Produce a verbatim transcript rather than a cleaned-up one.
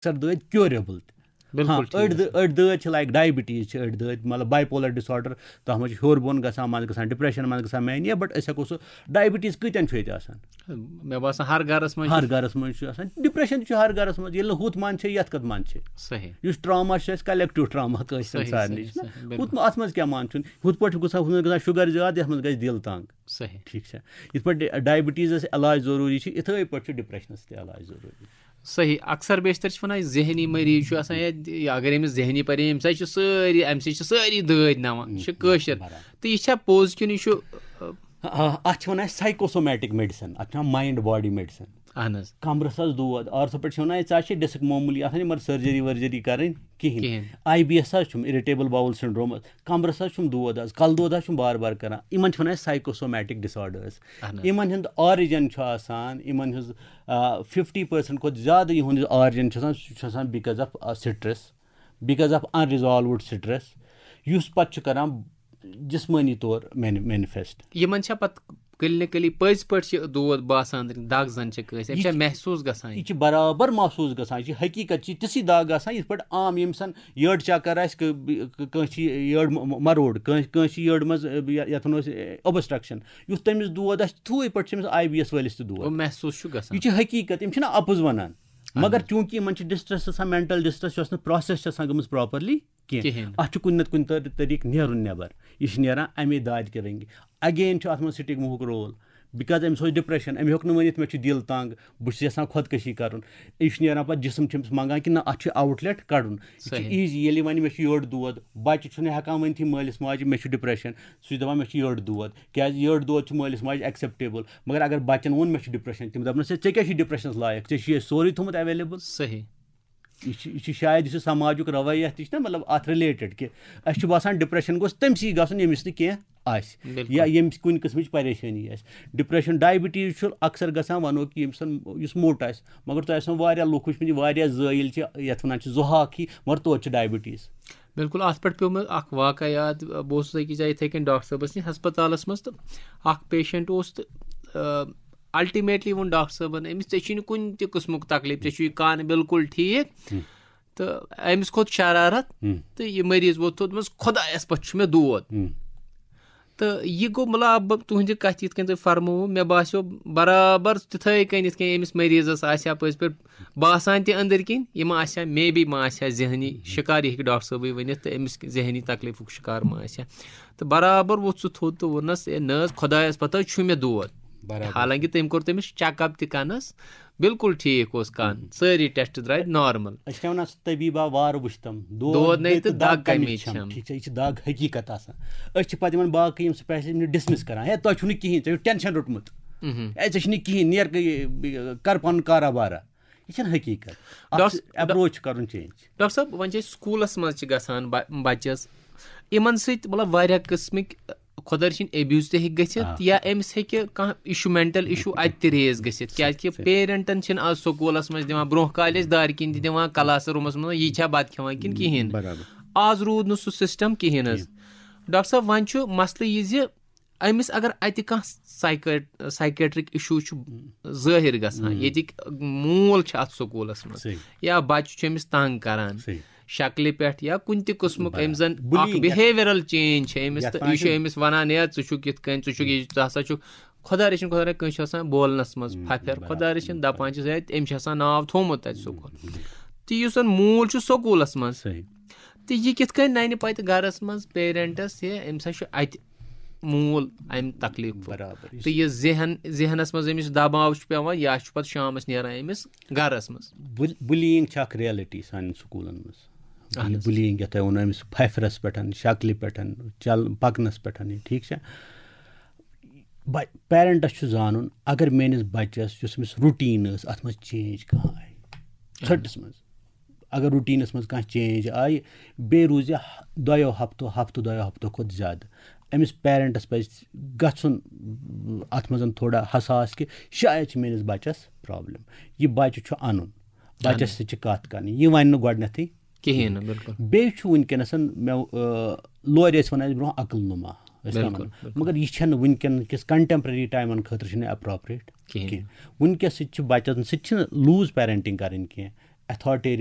اکثر دٲدۍ کیوریبل تہِ۔ بِلکُل ہاں، ٹھیٖک۔ أڑۍ دٲ- أڑۍ دٲدۍ چھِ لایک ڈایبٹیٖز چھِ، أڑۍ دٲدۍ مطلب باے پولر ڈِس آرڈر، تَتھ منٛز چھِ ہیوٚر بۄن گژھان، منٛزٕ گژھان ڈپریشن، منٛزٕ گژھان مینیا، بٹ أسۍ ہٮ۪کو سُہ ڈایبٹیٖز کۭتٮ۪ن چھُ ییٚتہِ آسان؟ مےٚ باسان ہر گرس منٛز چھُ۔ ہر گرس منٛز چھُ آسان، ڈپریشن تہِ چھُ ہر گرس منٛز، ییٚلہِ نہٕ ہُتھ منٛز چھِ یتھ کتھ منٛز چھِ۔ صحیح۔ یُس ٹراما چھُ اَسہِ کلیکٹیو ٹراما کٲنٛسہِ صحیح، سارنٕے صحیح، چھُ۔ صحیح، بِلکُل۔ ہُتھ منٛز، اتھ منٛز کیٛاہ مان چھُنہٕ؟ ہُتھ پٲٹھۍ چھُ گژھان، ہُتھ منٛز گژھان شُگر زیادٕ، یتھ منٛز گژھِ دِل تنگ۔ صحیح۔ ٹھیٖک چھا؟ یِتھ پٲٹھۍ ڈایبٹیٖزس علاج ضروٗری چھُ، یِتھے پٲٹھۍ چھُ ڈپریشنس تہِ علاج ضروٗری۔ صحیح۔ اکثر بیشتر چھِ وَنان، ذہنی مریض چھُ آسان یا، یا اگر أمِس ذہنی پریشٲنی، أمِس سۭتۍ چھِ سٲری، اَمہِ سۭتۍ چھِ سٲری دٲدۍ نَوان۔ یہِ چھِ کٲشِر۔ برابر۔ تہٕ یہِ چھا پوٚز کِنہٕ یہِ چھُ، آ، آ، اتھ چھِ وَنان أسۍ سایکوسومیٹک میڈیسن، اتھ چھِ وَنان مایِنڈ باڈی میڈیسن۔ اہن حظ۔ کمرس حظ دود، آرتھوپیڈ چھِ وَنان، ژےٚ چھِ ڈسک معموٗلی آسان، یِمن سرجری ورجری کرٕنۍ کِہینۍ۔ کِہینۍ۔ آی بی ایس حظ چھُم، اِرِٹیبل باول سنڈروم، کمرس حظ چھُم دود حظ، کلہٕ دود حظ چھُم بار بار کران۔ یِمن چھِ وَنان أسۍ سایکوسومیٹک ڈس آرڈرس۔ اہن حظ۔ یِمن ہُنٛد آرِجن چھُ آسان، یِمن ہٕنٛز ففٹی پٔرسنٹ کھۄتہٕ زیادٕ یِہُنٛد یُس آرِجن چھُ آسان، سُہ چھُ آسان because of stress، because of unresolved stress، یُس پتہٕ چھُ کران جسمٲنی طور مینفیسٹ۔ یِمن چھا پتہٕ کلینکلی پٔزۍ پٲٹھۍ چھِ دود باسان، دگ زن چھِ کٲنٛسہِ، أمِس یہِ چھا چھِ- محسوٗس گژھان یہِ یہِ؟ چھِ برابر محسوٗس گژھان، یہِ چھِ حقیٖقت، چھِ تِژھٕے دگ آسان یِتھ پٲٹھۍ عام ییٚمہِ سان یٔڈ چکر آسہِ، کٲ- کٲنٛسہِ چھِ یٔڈ م- م- مروڑ، کٲنٛسہِ کٲنٛسہِ چھِ یٔڈ منٛز، یتھ ونو أسۍ اوبسٹرکشن، یُتھ تٔمِس دود آسہِ، تِتھُے پٲٹھۍ چھِ أمِس آی بی ایس وٲلِس تہِ دود۔ گوٚو محسوٗس چھُ گژھان۔ یہِ چھِ حقیٖقت، یِم چھِنہٕ اَپُز وَنان۔ مگر چوٗنٛکہِ یِمَن چھِ ڈِسٹرٛس آسان، مٮ۪نٹَل ڈِسٹرٛس یۄس نہٕ پرٛاسٮ۪س چھِ آسان گٔمٕژ پراپرلی کینٛہہ، کِہیٖنۍ۔ اَتھ چھُ کُنہِ نَتہٕ کُنہِ طر- طریٖقہٕ نیرُن نٮ۪بَر۔ یہِ چھِ نیران اَمے دادِ کہِ رٔنٛگۍ۔ اگین چھُ اَتھ منٛز سٹِگمہُک رول، بِکاز أمِس اوس ڈِپرٛشَن، أمۍ ہیوٚک نہٕ ؤنِتھ مےٚ چھُ دِل تنٛگ، بہٕ چھُس یَژھان خۄدکٔشی کَرُن۔ یہِ چھُ نیران پَتہٕ جِسم چھُ أمِس منٛگان کہِ نہ، اَتھ چھُ آوُٹ لیٹ کَڑُن۔ یہِ چھُ صحیح۔ ایٖزی، ییٚلہِ وَنہِ مےٚ چھُ یٔڈ دود، بَچہِ چھُنہٕ ہٮ۪کان ؤنتھٕے مٲلِس ماجہِ مےٚ چھُ ڈِپرٛشَن، سُہ چھُ دَپان مےٚ چھُ یٔڈ دود، کیٛازِ یٔڈ دود چھُ مٲلِس ماجہِ ایکسیپٹیبل۔ مگر اگر بَچَن ووٚن مےٚ چھُ ڈِپرٛشَن، تِم دَپنَس ہے ژےٚ کیٛاہ چھُے ڈِپرٛشَنَس لایق، ژےٚ چھُے اَسہِ سورُے تھوٚمُت ایویلیبل۔ صحیح۔ یہِ چھُ یہِ چھُ شاید یُس یہِ سماجُک رویہ تہِ چھُ نہ، مطلب اَتھ رِلیٹڈ کہِ اَسہِ چھُ باسان ڈِپرٛشَن گوٚژھ تٔمسٕے گژھُن ییٚمِس نہٕ کینٛہہ آسہِ، بِلکُل۔ یا ییٚمِس کُنہِ قٕسمٕچ پریشٲنی آسہِ۔ ڈِپرٛشَن، ڈایبٹیٖز چھُ اکثر گژھان، وَنو کہِ ییٚمِس زَن یُس موٚٹ آسہِ، مگر تۄہہِ آسان واریاہ لُکھ وٕچھمٕتۍ، واریاہ زٲیِل چھِ یَتھ وَنان چھِ زُہاکھ ہی، مگر توتہِ چھِ ڈایبٹیٖز۔ بِلکُل، اَتھ پٮ۪ٹھ پیوٚو مےٚ اَکھ واقعہ یاد۔ بہٕ اوسُس أکِس جایہِ یِتھَے کٔنۍ ڈاکٹر صٲبَس نِش ہسپتالَس منٛز، تہٕ اَکھ پیشنٹ اوس، تہٕ الٹیمیٹلی ووٚن ڈاکٹر صٲبَن أمِس، "ژےٚ چھُے نہٕ کُنہِ تہِ قٕسمُک تکلیٖف، ژےٚ چھُے کَن بِلکُل ٹھیٖک۔" تہٕ أمِس کھوٚت شرارت، تہٕ یہِ مریض ووت تھوٚد منٛز، "خۄدایَس پٮ۪ٹھ چھُ مےٚ دود۔" تہٕ یہِ گوٚو، مطلب، بہٕ تُہنٛدِ کتھِ یِتھ کٔنۍ تۄہہِ فرمووُ، مےٚ باسیو برابر تِتھَے کٔنۍ یِتھ کٔنۍ أمِس مریضس آسہِ ہا پٔزۍ پٲٹھۍ باسان تہِ أنٛدٕرۍ کِنۍ، یہِ ما آسہِ ہا، مے بی ما آسہِ ہا ذہنی شکار، یہِ ہیٚکہِ ڈاکٹر صٲبٕے ؤنِتھ، تہٕ أمِس ذہنی تکلیفُک شکار ما آسہِ ہا۔ تہٕ برابر ووٚتھ سُہ تھوٚد تہٕ ووٚننس، "ہے نہ حظ، خۄدایس پتہ چھُ مےٚ دود۔" برابر۔ حالانکہِ تٔمۍ کوٚر تٔمِس چیک اپ تہِ کنس، بِلکُل ٹھیٖک اوس کَن، سٲری ٹیسٹ درٛاے نارمل۔ أسۍ چھِ وَنان، سُہ طبیٖبا وارٕ وٕچھتم، دود نَے تہٕ دگ کَمِچ چھَم۔ ٹھیٖک چھا؟ یہِ چھِ دگ حقیٖقت آسان۔ أسۍ چھِ پَتہٕ یِمَن باقٕے یِم سپیشلسٹ یِم ڈِسمِس کَران، ہے تۄہہِ چھُو نہٕ کِہیٖنۍ، تۄہہِ چھُو ٹٮ۪نشَن روٚٹمُت۔ ہے ژےٚ چھُنہٕ کِہیٖنۍ، نیر کر پَنُن کارا بارا۔ یہِ چھَنہٕ حقیٖقت۔ اَتھ ڈاکٹر- چھُ اپروچ کَرُن چینج۔ ڈاکٹر صٲب، وۄنۍ چھِ أسۍ سکوٗلَس منٛز چھِ گژھان بَ- بَچَس، یِمَن سۭتۍ مطلب واریاہ قٕسمٕکۍ خۄدا رٔچھِنۍ ایبیوز تہِ ہیٚکہِ گٔژھِتھ، یا أمِس ہیٚکہِ کانٛہہ اِشوٗ، مٮ۪نٹَل اِشوٗ اَتہِ تہِ ریز گٔژھِتھ، کیٛازِکہِ پیرَنٹَن چھِنہٕ آز سکوٗلَس منٛز دِوان، برٛونٛہہ کالہِ ٲسۍ دارِ کِنۍ تہِ دِوان کلاس روٗمَس منٛز، یہِ چھا بَتہٕ کھٮ۪وان کِنہٕ کِہیٖنۍ۔ برابر۔ آز روٗد نہٕ سُہ سِسٹَم کِہیٖنۍ حظ۔ ڈاکٹر صٲب، وۄنۍ چھُ مسلہٕ یہِ زِ أمِس اگر اَتہِ کانٛہہ سایکیٹ-، سایکیٹرک اِشوٗ چھُ ظٲہِر گژھان، ییٚتِکۍ موٗل چھِ اَتھ سکوٗلَس منٛز، صحیح۔ یا بَچہٕ چھُ أمِس تنٛگ کران، صحیح۔ شکلہِ پٮ۪ٹھ یا کُنہِ تہِ قٕسمُک برابر۔ أمۍ زَن اَکھ بُلینگ۔ بِہیویرل چینج چھِ أمِس، یَتھ تہٕ وَنان یہِ چھُ چھِ أمِس وَنان، "ہے ژٕ چھُکھ یِتھ کٔنۍ، ژٕ چھُکھ یہِ، ژٕ ہسا چھُکھ"، خۄدا رٔچھِنۍ، خۄدا رٔچھِنۍ، کٲنٛسہِ چھُ آسان بولنَس منٛز پھَپھٮ۪ر، برابر۔ خۄدا رٔچھِنۍ دَپان چھِس، "ہے أمِس چھِ آسان ناو تھوٚومُت تَتہِ سکوٗل۔" تہٕ یُس زَن موٗل چھُ سکوٗلَس منٛز، صحیح۔ تہٕ یہِ کِتھ کٔنۍ نَنہِ پَتہٕ گَرَس منٛز پیرنٹَس، ہے أمِس ہا چھُ اَتہِ موٗل اَمہِ تکلیٖفُک۔ برابر۔ تہٕ یہِ ذہن، ذہنَس منٛز أمِس دباو چھُ پٮ۪وان، یا چھُ پَتہٕ شامَس نیران أمِس گَرَس منٛز۔ بُل-، بُلینگ چھِ اَکھ ریالٹی سانٮ۪ن سکوٗلَن منٛز۔ اہن حظ۔ بُلینگ یَتھ تۄہہِ ووٚنوُ، أمِس پھَپھرَس پٮ۪ٹھ، شکلہِ پٮ۪ٹھ، چل-، پَکنَس پٮ۪ٹھ، یہِ ٹھیٖک چھا؟ بَ-، پیرنٹَس چھُ زانُن، اگر میٲنِس بَچَس یُس أمِس روٹیٖن ٲس، اَتھ منٛز چینج کانٛہہ آیہِ، ژھٔٹِس منٛز، اگر روٹیٖنَس منٛز کانٛہہ چینج آیہِ، بیٚیہِ روٗز یہِ دۄیو ہفتو، ہفتہٕ دۄیو ہفتو کھۄتہٕ زیادٕ، أمِس پیرنٹَس پَزِ گژھُن اَتھ منٛز تھوڑا حساس کہِ شاید چھِ میٲنِس بَچَس پرابلم۔ یہِ بَچہٕ چھُ اَنُن، بَچَس سۭتۍ چھِ کَتھ کَرٕنۍ، یہِ وَنہِ نہٕ گۄڈٕنٮ۪تھٕے۔ کِہیٖنۍ نہٕ، بِلکُل۔ بیٚیہِ چھُ وٕنکیٚنَس مےٚ، آ، لورِ ٲسۍ وَنان اَسہِ برونٛہہ عقل نُما، ٲسۍ نہ بِلکُل، وَنان۔ بِلکُل۔ مگر یہِ چھَنہٕ وٕنکیٚن کِس کَنٹیمپرری ٹایمَن خٲطرٕ چھِنہٕ اپروپریٹ کِہیٖنۍ۔ کینٛہہ۔ وٕنکیٚس سۭتۍ چھِ بَچَن سۭتۍ چھِنہٕ لوٗز پیرنٹِنگ کَرٕنۍ کینٛہہ۔ authoritarian